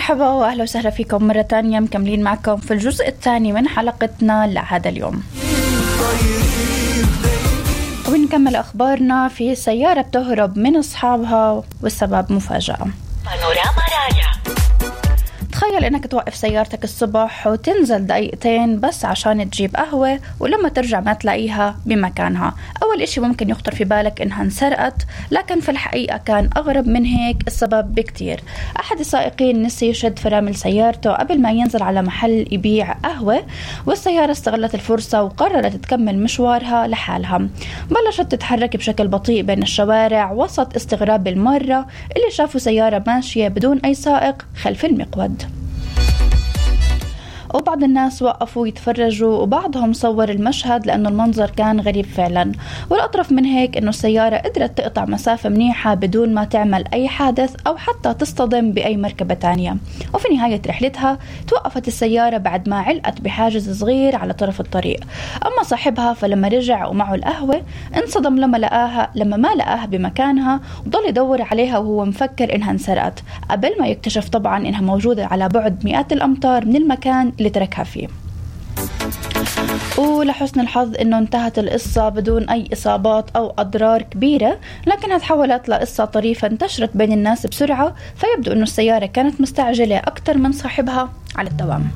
مرحبا وأهلا وسهلا فيكم مرة تانية، مكملين معكم في الجزء الثاني من حلقتنا لهذا اليوم، وبنكمل أخبارنا في سيارة بتهرب من أصحابها والسبب مفاجأة. تخيل إنك توقف سيارتك الصبح وتنزل دقيقتين بس عشان تجيب قهوة، ولما ترجع ما تلاقيها بمكانها. أول إشي ممكن يخطر في بالك إنها انسرقت، لكن في الحقيقة كان أغرب من هيك السبب بكتير. أحد السائقين نسي يشد فرامل سيارته قبل ما ينزل على محل يبيع قهوة، والسيارة استغلت الفرصة وقررت تكمل مشوارها لحالها. بلشت تتحرك بشكل بطيء بين الشوارع وسط استغراب المرة اللي شافوا سيارة ماشية بدون أي سائق خلف المقود. وبعض الناس وقفوا يتفرجوا، وبعضهم صور المشهد لأنه المنظر كان غريب فعلا. والأطرف من هيك أنه السيارة قدرت تقطع مسافة منيحة بدون ما تعمل أي حادث أو حتى تصطدم بأي مركبة تانية. وفي نهاية رحلتها توقفت السيارة بعد ما علقت بحاجز صغير على طرف الطريق. أما صاحبها فلما رجع ومعه القهوة انصدم لما ما لقاها بمكانها، وضل يدور عليها وهو مفكر إنها انسرقت، قبل ما يكتشف طبعا إنها موجودة على بعد مئات الأمتار من المكان اللي تركها فيه. ولحسن الحظ انه انتهت القصة بدون اي اصابات او اضرار كبيرة، لكنها تحولت لقصة طريفة انتشرت بين الناس بسرعة، فيبدو انه السيارة كانت مستعجلة اكتر من صاحبها على الدوام.